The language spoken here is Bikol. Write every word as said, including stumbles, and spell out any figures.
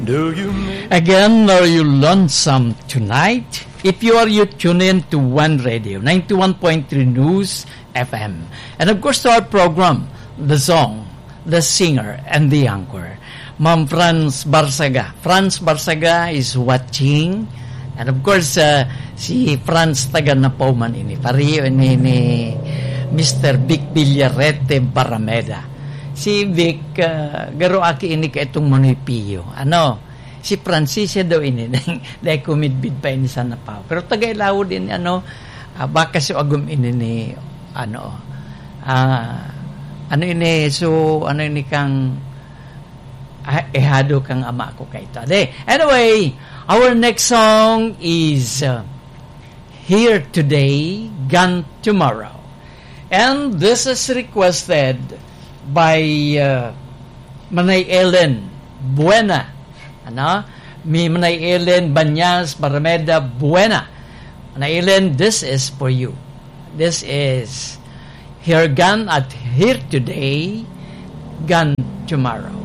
Again, are you lonesome tonight? If you are, you tune in to One Radio, ninety-one point three News F M. And of course, to our program, The Song, The Singer, and The Anchor. Ma'am Franz Barsaga. Franz Barsaga is watching. And of course, uh, si Franz taga Napoman ini. Pareho ini ni Mister Vic Villarete Barameda. Si Vic, ah, garo aki ini ka itong Manoy Pio. Ano? Si Francis daw ini, dai kumidbid pa ini sa Napaw. Pero taga Ilawod ini, ano, ah, baka si agom ini ni, ano, ah, ano ini, so, ano ini kang, ah, ehado kang ama ko kay ito. De, anyway, our next song is, uh, Here Today, Gone Tomorrow. And this is requested by, uh, Manay Ellen Buena. Ano? Mi Manay Ellen Banyas Barameda Buena. Manay Ellen, this is for you. This is Here Gone at Here Today, Gone Tomorrow.